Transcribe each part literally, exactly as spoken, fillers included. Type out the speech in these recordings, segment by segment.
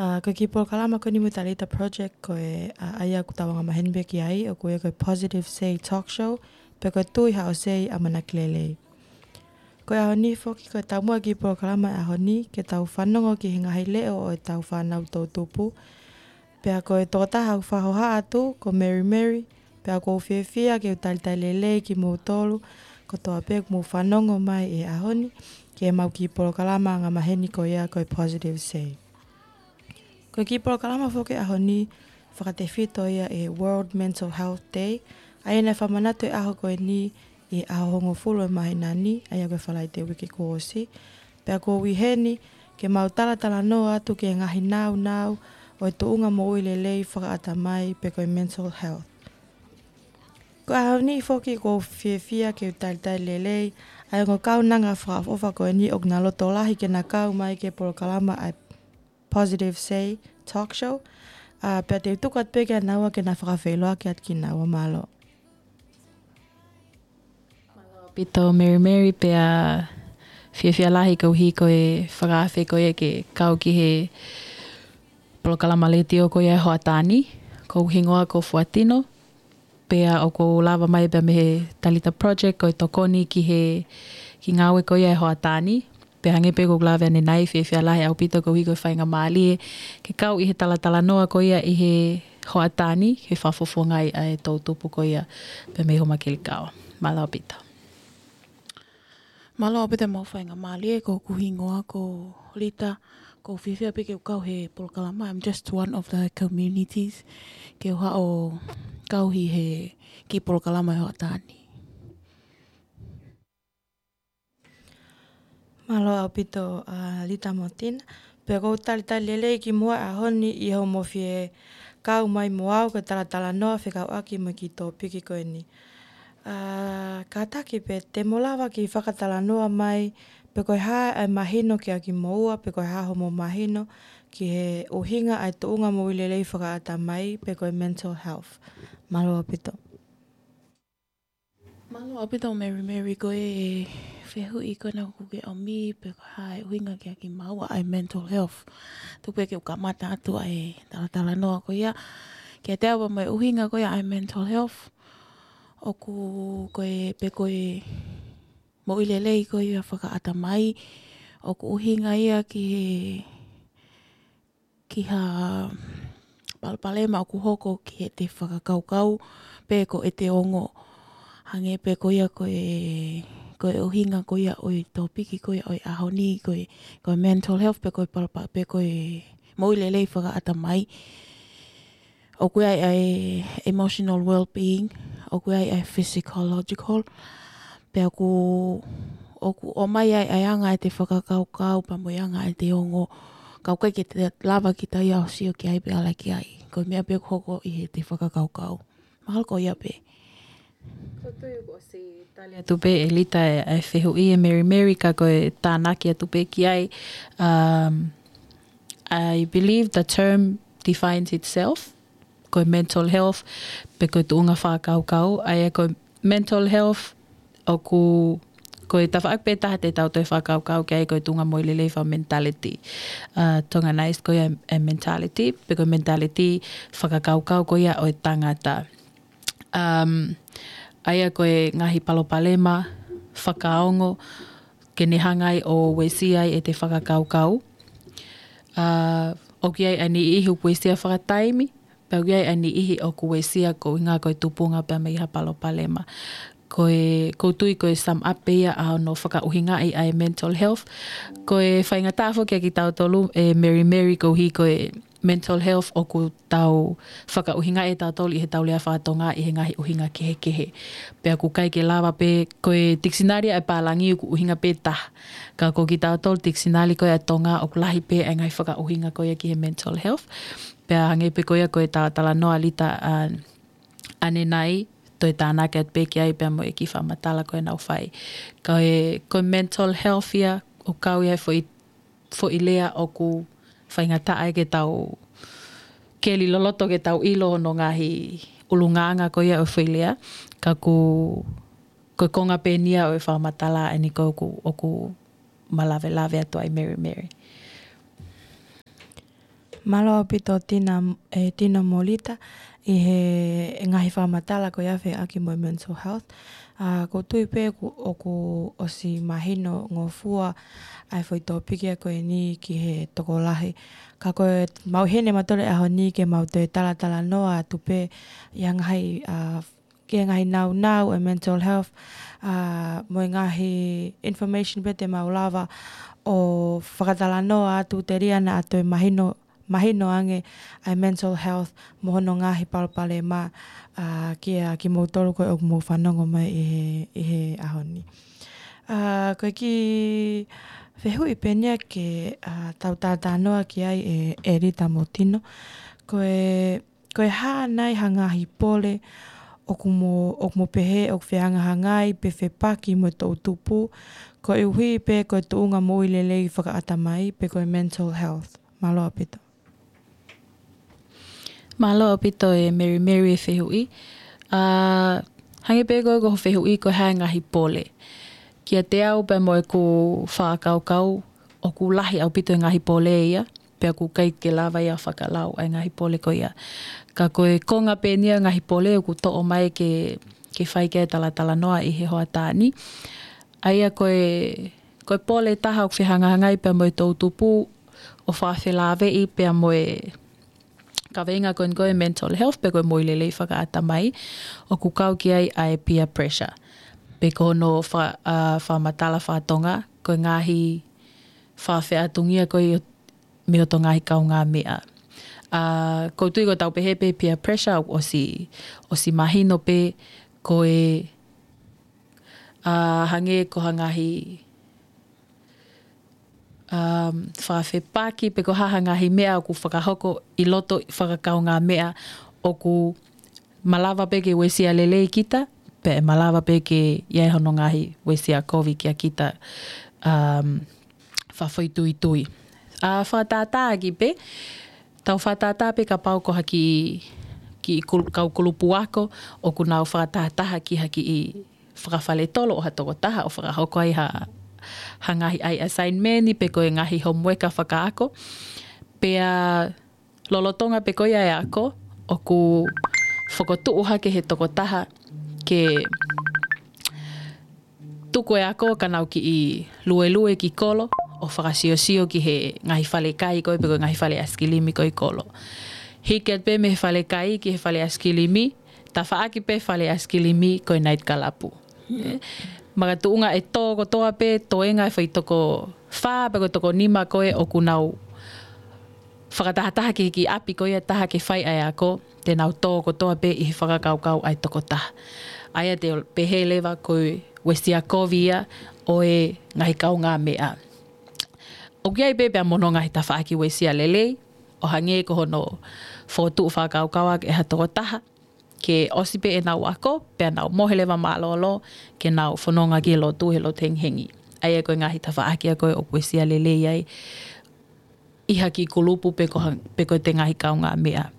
ʻA, ko e kiʻi polokalama ko eni mo e Talita Project ko e, ʻa, ʻa ia ʻoku tau angamaheni pē ki ai, ʻoku ui ko e Positive Say Talk Show, pe ko e Tui Haʻo Say ʻAmanaki Lelei. Ko e ʻaho ni foki ko e taumuʻa e kiʻi polokalama e ʻaho ni, ke tau fanongo ki he ngaahi leʻo ʻo ʻetau fānau toʻutupu. Pea ko e tokotaha ʻoku fakahohaʻa atu, ko Mary Mary, pea ʻoku ou fiefia ke u talitali lelei kimoutolu kotoa pē ʻoku mou fanongo mai he ʻaho ni, ki heʻemau kiʻi polokalama angamaheni ko ia ko e Positive Say. Ko e kiʻi polokalama foki e ʻaho ni, fakatefito ia ʻi he World Mental Health Day, ʻa ia naʻe fakamanatu e ʻaho ko eni ʻi he ʻaho hongofulu e māhina ni, ʻa ia ko e Falaite uike kuo ʻosi. Pea ʻoku ou ʻi heni ke mau talatalanoa atu ki he ngaahi nāunau ʻo e tuʻunga moʻui lelei fakaʻatamai pe ko e mental health. Ko e ʻaho ni foki ʻoku ou fiefia ke u talitali lelei ʻa e ongo kaunanga fakaʻofoʻofa ko eni ʻoku na loto lahi ke na kau mai ki he polokalama ʻa e Positive Say Talk Show. ʻA, pea te u tuku atu pē kia naua ke na fakafeʻiloaki atu kinaua. Mālō. Mālō ʻaupito Mary Mary, pea fiefia lahi koeʻuhi ko e fakaafe ko ia ke kau ki he polokalama letiō ko ia e hoʻatā ni. Ko hoku hingoa ko Fuatino, pea ʻoku ou lava mai pea mei he Talita Project ko e tokoni ki he kiʻi ngāue ko ia e hoʻatā ni. Pea hangē pē ko ʻeku lave ʻanenai, fiefia lahi ʻaupito koeʻuhi ko e faingamālie ke kau ʻi he talatalanoa ko ia ʻi he hoʻatā ni, ke fakafofongaʻi ʻa e toʻutupu ko ia pea mei Homakelikaua. Mālō ʻaupito. Mālō ʻaupito mo e faingamālie, ko hoku hingoa ko Lita, ʻoku ou fiefia pē ke u kau he polokalama. I'm just one of the communities ke u haʻu ʻo kau ʻi he kiʻi polokalama e hoʻatā ni. Mālō ʻaupito, ʻa, Lita mo Tina. Pea ʻoku ou talitali lelei kimoua he ʻaho ni ʻi hoʻomou fie kau mai mo au ke talatalanoa fekauʻaki mo e kiʻi tōpiki ko eni. ʻA, kātaki pē te mou lava ke fakatalanoa mai pe ko e hā e mahino kiate kimoua, pe ko e hā hoʻomou mahino ki he ʻuhinga ʻa e tuʻunga moʻui lelei fakaʻatamai, pe ko e mental health. Mālō ʻaupito. Mālō ʻaupito Mary Mary, ko e fehuʻi ko ena ʻoku ke ʻomi, pe ko e hā e ʻuhinga kiate kimaua ʻa e mental health. Tuku pē ke u kamata atu ʻa e talatalanoa ko ia kiate au pea mo e ʻuhinga ko ia ʻa e mental health. ʻOku, ko e, pe ko e moʻui lelei ko ia fakaʻatamai, ʻoku ʻuhinga ia ki he, ki ha palopalema ʻoku hoko ki heʻete fakakaukau pe ko ʻete ongo. Hangē pē ko ia ko e, ko e ʻuhinga ko ia ʻo e tōpiki ko ia ʻo e ʻaho ni, ko e, ko e mental health pe ko e palopa-, pe ko e moʻui lelei fakaʻatamai. ʻOku ʻi ai ʻa e emotional well-being, ʻoku ʻi ai ʻa e physiological, pea ʻoku, ʻoku ʻomai ai ʻa e anga ʻete fakakaukau pea mo e anga ʻete ongo. Ka ʻoku ʻikai ke te lava kita ia ʻo sio ki ai pe ala ki ai. Ko e meʻa pē ʻoku hoko ʻi heʻete fakakaukau. Mahalo ko ia pē. Ko e tui ʻoku ʻosi tali atu pē ʻe Lita e, e fehuʻi ʻe Mary Mary, ka ko e tānaki atu pē ki ai. Um, I believe the term defines itself, ko e mental health, pe ko e tuʻunga fakakaukau, ʻa ia ko e mental health, ʻoku, ko e tafaʻaki pē taha te tau toe fakakaukau ki ai ko e tuʻunga moʻui lelei faka-mentality. Uh, Tonganized ko ia e mentality, pe ko e mentality fakakaukau ko ia ʻo e tangata. Um, ʻa ia ko e ngaahi palopalema fakaongo, ke ne hanga ai ʻo uesia ai ʻete fakakaukau. Uh, ʻoku ʻi ai ʻa e niʻihi ʻoku uesia fakataimi, pea ʻoku ʻi ai ʻa e niʻihi ʻoku uesia koeʻuhinga ko e tupunga pea mei ha palopalema. Ko e, ʻoku ou tui ko e sum up pē ia ʻa hono fakaʻuhingaʻi ʻa e mental health. Ko e faingataʻa foki kiate kitautolu ʻe Mary Mary koeʻuhi ko e mental health ʻoku tau fakaʻuhingaʻi ʻe tautolu ʻi heʻetau lea faka-Tonga ʻi he ngaahi ʻuhinga kehekehe. Pea ʻoku ʻikai ke lava pē, ko e tikisinali ʻa e pālangi ʻoku ʻuhinga pē taha. Ka ko kitautolu tikisinali ko ia ʻa e Tonga ʻoku lahi pē ʻa e ngaahi fakaʻuhinga ko ia ki he mental health. Pea hangē pē ko ia ko e talatalanoa ʻa Lita, ʻa, ʻanenai, toe tānaki atu pē ki ai pea mo e kiʻi fakamatala ko ē naʻa ku fai. Ka ko e, ko e mental health ia, ʻoku kau ia he foʻi, foʻi lea ʻoku faingataʻa ke tau keli loloto ke tau ʻilo hono ngaahi ʻulungaanga ko ia ʻo e foʻi lea. Ka ʻoku, ko e konga pē eni ia ʻo e fakamatala ʻeni ko ē ʻoku, ʻoku ma lavelave atu ai Mary Mary. Mālō ʻaupito Tina, ʻe Tino Molita, ʻi he ngaahi fakamatala ko ia fekauʻaki mo e mental health. ʻA, ʻoku ou tui pē ʻoku, ʻoku ʻosi mahino ngofua ʻa e foʻi tōpiki ko eni ki he tokolahi. Ka ko e maʻu heni ʻe mautolu he ʻaho ni ke mau toe talatalanoa atu pē ʻi he ngaahi, ʻa, ki he ngaahi nāunau ʻo e mental health, ʻa, mo e ngaahi information pē te mau lava ʻo fakatalanoa atu telia naʻa toe mahino, mahino ange ʻa e mental health mo hono ngaahi palopalema, ʻa, kiate kimoutolu ko ē ʻoku mou fanongo mai ʻi he, ʻi he ʻaho ni. ʻA, ko e kiʻi fehuʻi pē eni ia ke, ʻa, tau talatalanoa ki ai ʻe, ʻe Lita mo Tino. Ko e, ko e hā nai ha ngaahi pole ʻoku mo, ʻoku mo pehē ʻoku fehangahangai pe fepaki mo e toʻutupu, koeʻuhi pē ko e tuʻunga moʻui lelei fakaʻatamai pe ko e mental health. Mālō ʻaupito. Mālō ʻaupito ʻe Mary Mary e fehuʻi. ʻA, hangē pē ko e, ko hoʻo fehuʻi ko e hā e ngaahi pole. Kiate au pea mo ʻeku fakakaukau, ʻoku lahi ʻaupito e ngaahi pole ia, pea ʻoku ʻikai ke lava ia fakalau ʻa e ngaahi pole ko ia. Ka ko e konga pē eni ia e ngaahi pole ʻoku toʻo mai ke, ke fai ki ai e talatalanoa ʻi he hoʻatā ni. ʻA ia ko e, ko e pole ʻe taha ʻoku fehangahangai pea mo e toʻutupu ʻo fakafelāveʻi pea mo e kaveinga ko eni ko e mental health pe ko e moʻui lelei fakaʻatamai, ʻoku kau ki ai ʻa e peer pressure. Pe ko hono fa-, ʻa, fakamatala fakatonga, ko e ngaahi fakafeʻātungia ko ē mei hoto ngaahi kaungāmeʻa. ʻA, ʻoku ou tui ko ʻetau pehē pē peer pressure ʻoku ʻosi, ʻosi mahino pē ko e, ʻa, hangē ko ha ngaahi, um, fakafepaki pe ko ha, ha ngaahi meʻa ʻoku fakahoko ʻi loto fakakaungāmeʻa ʻoku malava pē ke uesia lelei kita, pe malava pē ke ʻi ai hono ngaahi uesia kovi kia kita, um, fakafoʻituitui. ʻA, fakatātā ʻaki pē, tau fakatātā pē kapau ko ha kiʻi, kiʻi kul-, kau kulupu ako ʻoku nau fakatahataha ki ha kiʻi fakafaletolo ʻo ha tokotaha ʻo fakahoko ai ha, ha ngaahi ʻai assignment pe ko e ngaahi homework fakaako. Pea lolotonga pē ko ia e ako, ʻoku fokotuʻu hake he tokotaha ke tuku e ako ka nau kiʻi luelue ki kolo ʻo fakasiosio ki he ngaahi fale kai ko ē pe ko e ngaahi fale ʻaisikilimi ko ē ʻi kolo. Hiki atu pē mei he fale kai ki he fale ʻaisikilimi, tafaʻaki pē fale ʻaisikilimi ko e night kalapu. Makatuʻunga ʻe tō kotoa pē toenga e foʻi toko fā pe ko e toko nima ko ē ʻoku nau fakatahataha ki he kiʻi ʻapi ko ia ʻe taha ke fai ʻa e ako, te nau tō kotoa pē ʻi he fakakaukau ʻa e tokotaha. ʻA ia te u pehē leva ko e uesia kovi ia ʻo e ngaahi kaungāmeʻa. ʻOku ʻi ai pē pea mo hono ngaahi tafaʻaki uesia lelei, ʻo hangē ko hono fokotuʻu fakakaukau ʻaki ʻe ha tokotaha, ke ʻosi pē ʻenau ako, pea nau mohe leva mālōlō, ke nau fononga ki he lotu he lotu hengihengi. ʻA ia ko e ngaahi tafaʻaki ia ko ē ʻoku uesia lelei ai ʻi ha kiʻi kulupu pe ko ha, pe ko ʻete ngaahi kaungāmeʻa.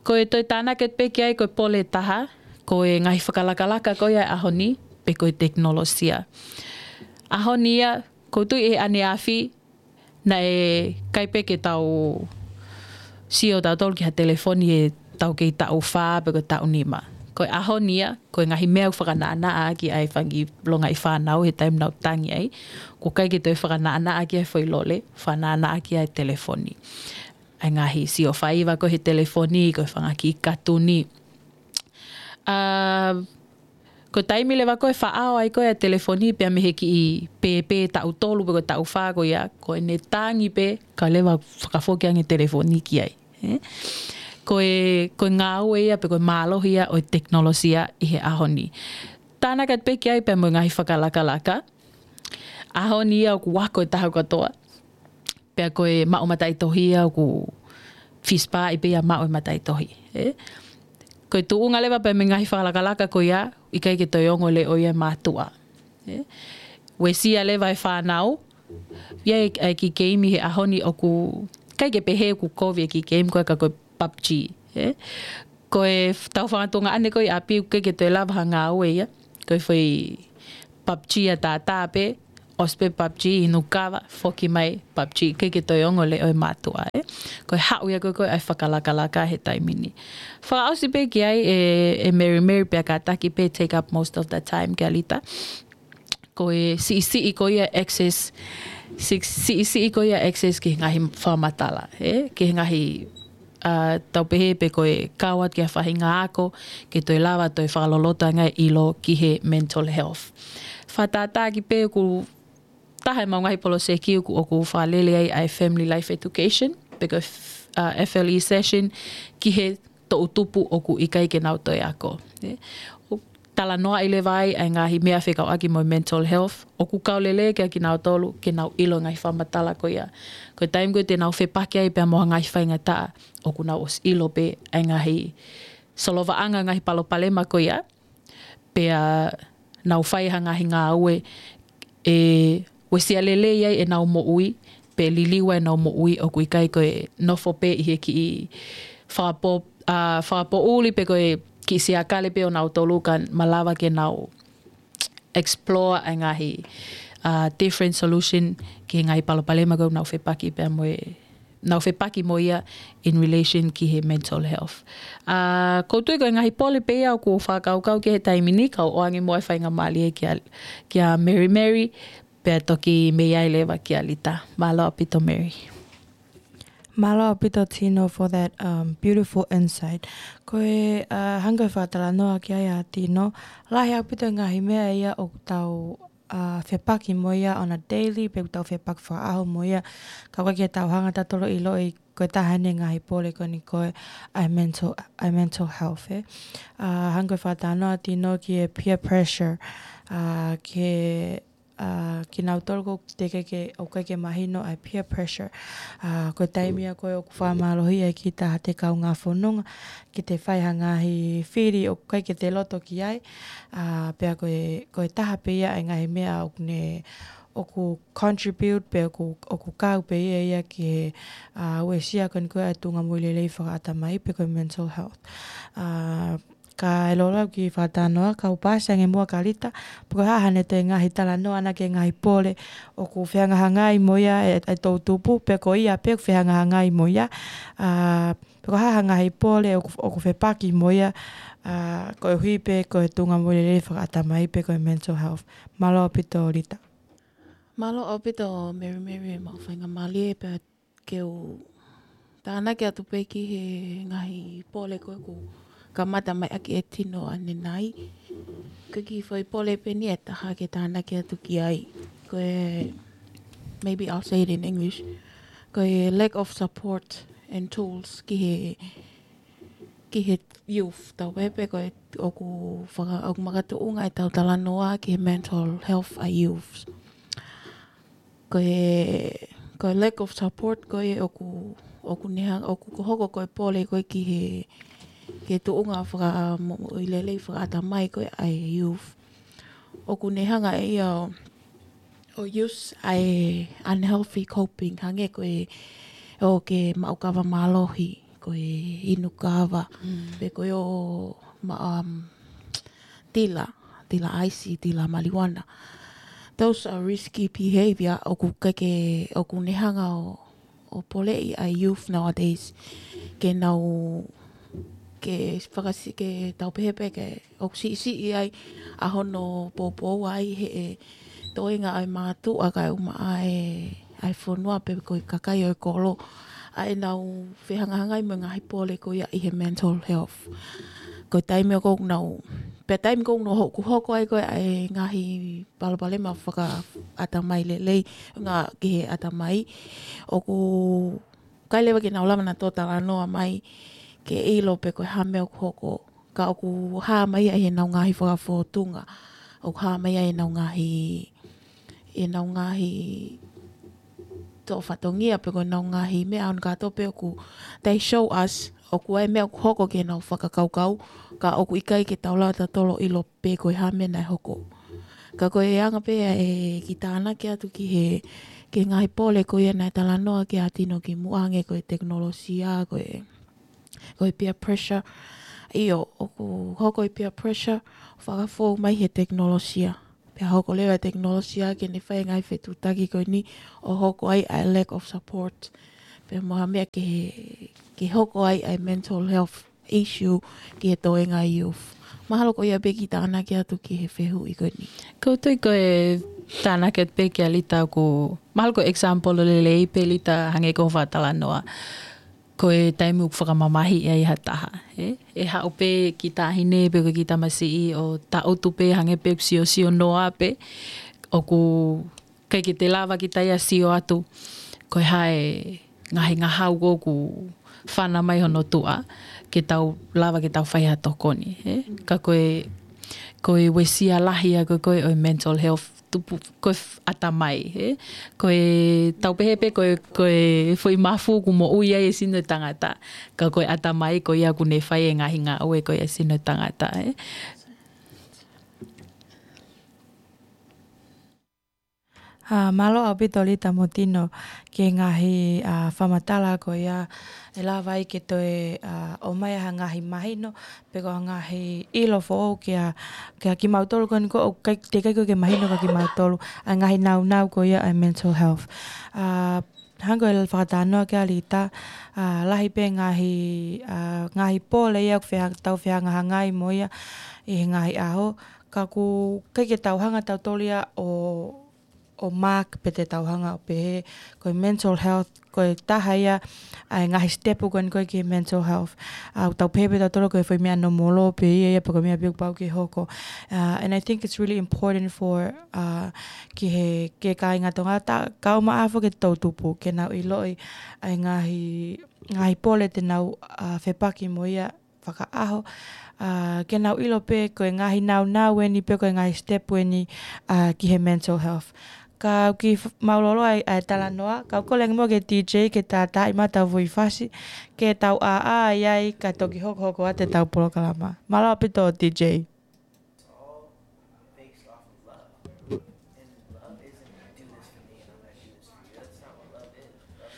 Ko e toe tānaki pē ki ai ko e pole ʻe taha, ko e ngaahi fakalakalaka ko ia e ʻaho ni, pe ko e tekinolosia. ʻAho ni ia, ʻoku ou tui ʻi he ʻaneafi, naʻe ʻikai pē ke tau sio tautolu ki ha telefoni ʻi heʻetau kei taʻu fā pe ko e taʻu nima. Ko e ʻaho ni ia, ko e ngaahi meʻa ʻoku fakanaʻanaʻa ʻaki ʻa e fanga kiʻi longaʻi fānau he taimi naʻa nau tangi ai. ʻOku ʻikai ke toe fakanaʻanaʻa ʻaki ʻa e foʻi lole, fakanaʻanaʻa ʻaki ʻa e telefoni. ʻA e ngaahi sio faiva ko ē he telefoni, ko e fanga kiʻi katuni. ʻA, ko e taimi leva ko ē ʻe faʻao ai ko ē ʻa e telefoni pea mei he kiʻi pēpē taʻu tolu pe ko e taʻu fā ko ia, ko ʻene tangi pē, kae leva fakafoki ange e telefoni ki ai. Ē? Ko e, ko e ngāue ia pe ko e mālohi ia ʻo e tekinolosia ʻi he ʻaho ni. Tānaki atu pē ki ai pea mo e ngaahi fakalakalaka. ʻAho ni ia ʻoku ako e taha kotoa. Pea ko e maʻu mataʻitohi ia ʻoku fisipaʻi pē ia maʻu e mataʻitohi. Ē? Ko e tuʻunga leva pea mo e ngaahi fakalakalaka ko ia, ʻikai ke toe ongo leʻo ia e mātuʻa. Ē? Uesia leva e fānau, ʻi ai e kiʻi keimi he ʻaho ni ʻoku, ʻikai ke pehē ʻoku kovi e kiʻi keimi ko ē ka ko e PUBG. Ē? Ko e f-, tau fanga tuongaʻane ko ē ʻi ʻapi ʻoku ʻikai ke toe lava ha ngāue ia. Ko e foʻi PUBG ʻa tātā pē, ʻosi pē PUBG, inu kava, foki mai PUBG, ʻikai ke toe ongo leʻo e mātuʻa, ē. Ko e haʻu ia ko ē ko ē ʻa e fakalakalaka he taimi ni. Fakaʻosi pē ki ai ʻe, ʻe Mary Mary pea kātaki pē take up most of the time kia Lita. Ko e siʻisiʻi ko ia access, si-, siʻisiʻi ko ia access ki he ngaahi fakamatala, ē? Ki he ngaahi, ā, tau pehē pē ko e kau atu ki ha faʻahinga ako, ke toe lava toe fakaloloto ange e ʻilo ki he mental health. Fakatātā ki pē ʻoku taha e mau ngaahi poloseki ʻoku, ʻoku fakalele ai ʻa e Family Life Education, pe ko e f-, ā, F L E session, ki he toʻu tupu ʻoku ʻikai ke nau toe ako. Ē, ʻo talanoaʻi leva ai ʻa e ngaahi meʻa fekauʻaki mo e mental health, ʻoku kau lelei kia kinautolu ke nau ʻilo e ngaahi fakamatala ko ia. Ko e taimi ko ē te nau fepaki ai pea mo ha ngaahi faingataʻa, ʻoku nau ʻosi ʻilo pē ʻa e ngaahi solovaʻanga, ngaahi palopalema ko ia, pea nau fai ha ngaahi ngāue ʻe uesia lelei ai ʻenau moʻui, pe liliu ai ʻenau moʻui, ʻoku ʻikai ko e nofo pē ʻi he kiʻi fakapō-, ā, fakapoʻuli pe ko e kiʻi siakale pē ʻonautolu, ka malava ke nau explore ʻa e ngaahi, ā, different solution ki he ngaahi palopalema ko ē ʻoku nau fepaki pea mo e, nau fepaki mo ia in relation ki he mental health. Ā, ʻoku ou tui ko e ngaahi pole pē ia ʻoku ou fakakaukau ki he taimi ni, kau ʻoange muʻa e faingamālie kia, kia Mary Mary, pea toki mei ai leva kia Lita. Mālō ʻaupito Mary. Mālō ʻaupito Tino for that, um, beautiful insight. Ko e, ā, hangē ko e fakatalanoa ki ai ʻa Tino, lahi ʻaupito e ngaahi meʻa ia ʻoku tau, ā, fepaki mo ia on a daily, pe ʻoku tau fepaki fakaʻaho mo ia, ka ʻoku ʻikai ke tau hanga tautolu ʻo ʻiloʻi ko e taha eni e ngaahi pole ko eni ko e ʻa e mental, ʻa e mental health, ē. Ā, hangē ko e fakatalanoa ʻa Tino ki he peer pressure, ā, ki he, ā, kinautolu ʻoku teʻeki ke, ʻoku ʻikai ke mahino ʻa e peer pressure. Ā, ko e taimi ia ko ē ʻoku fakamālohiʻi ai kita ʻe ha taha ʻi he kaungā fononga, ke te fai ha ngaahi fili ʻoku ʻikai ke te loto ki ai, ā, pea ko e, ko e taha pē ia e ngaahi meʻa ʻoku ne, ʻoku contribute pe ʻoku, ʻoku kau pē ia ia ki he, ā, uesia ko eni ko e ʻa e tuʻunga moʻui lelei fakaʻatamai pe ko e mental health. Ā, ka e lolo au ki he fakatalanoa, kau paasi ange muʻa kia Lita, pe ko e hā haʻane toe ngaahi talanoa ʻana ki he ngaahi pole ʻoku fehangahangai mo ia e, e toʻu tupu, pe ko ia pē ʻoku fehangahangai mo ia, ā, pe ko e hā ha ngaahi pole ʻoku, ʻoku fepaki mo ia, ā, koeʻuhi pē ko e tuʻunga moʻui lelei fakaʻatamai pe ko e mental health. Mālō ʻaupito Lita. Mālō ʻaupito Mary Mary e maʻu faingamālie pea ke u tānaki atu pē ki he ngaahi pole ko ē ʻoku kamata mai ʻaki ʻe Tino ʻanenai. Ko e kiʻi foʻi pole pē eni ʻe taha ke tānaki atu ki ai. Ko e, maybe I'll say it in English. Ko e lack of support and tools ki he, ki he youth. Tau pehē pē ko e ʻoku faka-, ʻoku makatuʻunga ʻetau talanoa ki he mental health ʻa e youth. Ko e, ko e lack of support ko ē ʻoku, ʻoku ne hanga, ʻoku hoko ko e pole ko ē ki he, ki he tuʻunga faka-, moʻui lelei fakaʻatamai ko ē ʻa e youth. ʻOku ne hanga ʻe ia ʻo, ʻo use ʻa e unhealthy coping, hangē ko e ʻoku ke maʻu kava mālohi, ko e inu kava, Mm. pe ko e ʻo ma-, um, tila, tila ʻaisi, tila marijuana. Those are risky behavior ʻoku ʻikai ke, ʻoku ne hanga ʻo, ʻo poleʻi ʻa e youth nowadays. Ke nau, ke fakasi-, ke tau pehē pē ke ʻoku siʻisiʻi ai ʻa hono poupou ai he ʻe toenga ʻa e mātuʻa kae ʻumaʻā ʻa e, ʻa e fonua pe ko e kakai ʻo e kolo. ʻA ʻenau fehangahangai mo e ngaahi pole ko ia ʻi he mental health. Ko e taimi ʻoku nau, pea taimi ʻoku nau hoku hoko ai ko ē ʻa e ngaahi palopalema fakaʻatamai lelei, ngaahi ki he ʻatamai. ʻOku ʻikai leva ke nau lava nautolu ʻo talanoa mai ke ʻilo pe ko e hā e meʻa ʻoku hoko. Ka ʻoku hā mai ia ʻi heʻenau ngaahi fakafōtunga. ʻOku hā mai ia ʻi heʻenau ngaahi, ʻenau ngaahi toʻo fatongia pe ko ʻenau ngaahi meʻa ʻo ne kātoa pē ʻoku, they show us, ʻoku ʻi ai e meʻa ʻoku hoko ki heʻenau fakakaukau, ka ʻoku ʻikai ke tau lava tautolu ʻo ʻilo pe ko e hā e meʻa naʻe hoko. Ka ko e anga pē ʻa e kiʻi tānaki atu ki he, ki he ngaahi pole ko ia naʻe talanoa ki ai ʻa Tino kimuʻa hangē ko e tekinolosia, ko e, ko e peer pressure. ʻIo, ʻoku hoko e peer pressure, fakafou mai he tekinolosia. ʻe hoko leva e tekinolosia ke ne fai e ngaahi fetuʻutaki ko eni ʻo hoko ai ʻa e lack of support. Pea mo ha meʻa ke, ke hoko ai ʻa e mental health issue ki he toenga youth. Mahalo ko ia pē kiʻi tānaki atu ki he fehuʻi ko eni. Ko u tui ko e tānaki atu pē kia Lita ʻoku, mahalo ko e example lelei pē Lita hangē ko hoʻo fakatalanoa. Ko e taimi ʻoku fakamamahiʻi ai ha taha, ē? ʻE haʻu pē kiʻi taʻahine pe ko e kiʻi tamasiʻi ʻo taʻutu pē hangē pē ʻoku siosio noa pē, ʻoku ʻikai ke te lava kita ia ʻo sio atu ko e hā e ngaahi ngahau ko ē ʻoku fana mai hono tuʻa, ke tau lava ke tau fai ha tokoni, ē? Ka ko e, ko e uesia lahi ia ko ē ko ē ʻo e mental health tupu, ko e f-, ʻatamai, ē? Ko e tau pehē pē ko e, ko e foʻi mafu ʻoku moʻui ai e sino e tangata. Ka ko e ʻatamai ko ia ʻoku ne fai e ngaahi ngāue ko ia e sino e tangata, ē? ʻA, mālō ʻaupito Lita mo Tino ki he ngaahi, ʻa, fakamatala ko ia ʻe lava ai ke toe, ʻa, ʻomai ha ngaahi mahino, pe ko ha ngaahi ʻilo foʻou kia, kia kimautolu ko eni ko ē ʻoku ʻikai, teʻeki ai ko ē ke mahino kia kimautolu ʻa e ngaahi naunau ko ia ʻa e mental health. ʻA, hangē ko e fakatalanoa kia Lita, ʻa, lahi pē ngaahi, ʻa, ngaahi pole ia ʻoku feha-, tau fehangahangai mo ia ʻi he ngaahi ʻaho, ka ʻoku ʻikai ke tau hanga tautolu ia ʻo ʻo mark pe te tau hanga ʻo pehē, ko e mental health, ko e taha ia ʻa e ngaahi step ko eni ko ē ki he mental health. ʻA, ʻoku tau pehē pē tautolu ko e foʻi meʻa nōmolo pē ia, ia pe ko e meʻa pē ʻoku pau ke hoko. ʻA, and I think it's really important for, ʻa, ki he, ki he kāinga Tonga, ta-, kau maʻafu ke tau tupu, ke nau ʻiloʻi ʻa e ngaahi, ngaahi pole te nau, ʻa, fepaki mo ia fakaʻaho, ʻa, ke nau ʻilo pē ko e ngaahi naunau eni pe ko e ngaahi step eni, ʻa, ki he mental health. Ka u kiʻi f-, mālōlō ai ʻa e talanoa, ka u kole ange muʻa ki he D J ke tātaaʻi mai ʻetau foʻi fasi, ke tau ʻāʻā ai ai ka toki hokohoko atu ʻetau polokalama. Mālō ʻaupito D J.